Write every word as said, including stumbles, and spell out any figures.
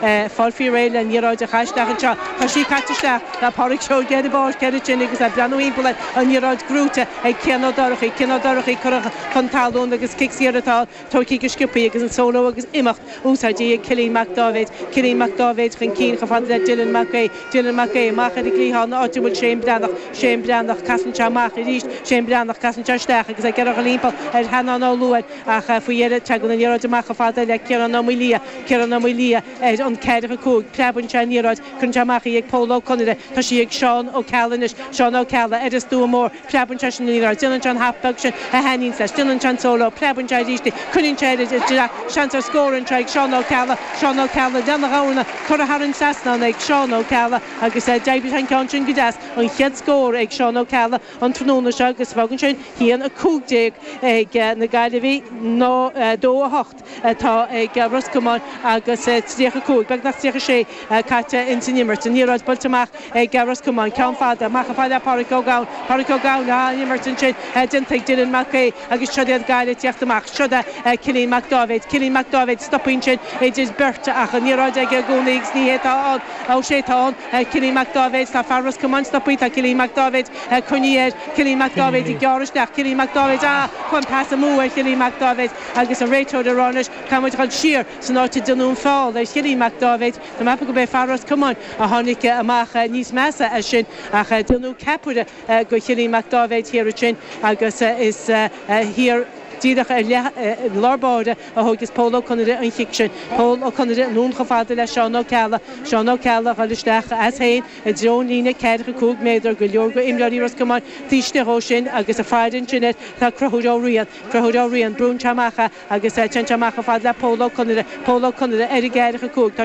Fáil faoi réidh le an liathróid a chaitheamh isteach anseo. Tá sí caite isteach le Pádraig Seoige ar an bpáirc ansin agus é ag breathnú thimpeall air an liathróid gnóite ag Cian Ó Dorchaí. Cian Ó Dorchaí curtha chun talún agus cic saor atá tógtha go sciobtha agus an solo agus imeacht úsáidte ag Cillian Mac Dáibhéid. Cillian Mac Dáibhéid chun cinn chomh fada le Dylan Mac Aodh. Dylan Mac Aodh amach ar an gcliathán áit a bhfuil Shane Breathnach. Shane Breathnach casann sé amach arís Shane Breathnach casann sé isteach agus ag iarraidh a dhul thimpeall ar Sheanán Ó Luain ach faoi dheireadh tagann an liathróid amach chomh fada le Ciarán Ó Maoildhia. Ciarán Ó Maoildhia ar an ceathracha cúig. Preabann sé an liathróid cuireann sé amach í ag Pól Ó Conaire. Tá sí ag Seán Ó Ceallaigh anois. Seán Ó Ceallaigh ar an stua mór. Preabann sé sin an liathróid. Déanann sé an hap beag sin a thaitníonns leis. Déanann sé an solo. Preabann sé arís í. Cuireann sé ar seans ar scór anseo ag Seán Ó Ceallaigh. Seán Ó Ceallaigh lena dhorna curtha thar an trasnán ag Seán Ó Ceallaigh agus d'oibrigh an ceann sin go deas an chéad scór ag Seán Ó Ceallaigh an tráthnóna seo agus fágann sin haon a cúig déag ag na Gaillimhigh ná dó a hocht atá ag Ros Comáin agus tríocha cúig beagnach tríocha sé caite ins an imirt. An liathróid buailte amach ag Ros Comáin ceann fada amach chomh fada le Pádraig Ó Gabhann Pádraig Ó Gabhann an imirt ansin déanta ag Dylan Mac Aodh agus seo iad Gaillimh ag teacht amach seo é Cillian Mac Dáibhéid Cillian Mac Dáibhéid stopann sin idir beirt ach an liathróid aige i gcónaí agus ní hé atá ann ó sé atá ann Cillian Mac Dáibhéid tá fear Ros Comáin stoptha tá Cillian Mac Dáibhéid coinnithe air Cillian Mac Dáibhéid ag gearradh isteach Cillian Mac Dáibhéid á chun pas amú ar Chillian Mac Dáibhéid agus an réiteoir ag rá anois caithfidh muid dul siar san áit a ndearnadh an feall ar Chillian Mac Dáibhéid Tá mé ag ceapadh gurb é fear Ros Comáin a tháinig amach níos measa as sin ach déanadh ceapaire go Chillian Mac Dáibhéid thiar ansin agus is thiar díreach ar leith lár báire a thógas Pól Ó Conaire an chic sin. Pól Ó Conaire anonn chomh fada le Seán Ó Ceallaigh. Seán Ó Ceallaigh ag dul isteach as féin i dtreo an líne ceathracha cúig méadar go leor go imreoirí Ros Comáin taobh istigh dhó sin agus ag faire ansin air tá Conchúr Ó Riain. Conchúr Ó Riain brúnn sé amach agus téann sé amach chomh fada le Pól Ó Conaire. Pól Ó Conaire ar an gceathracha cúig tá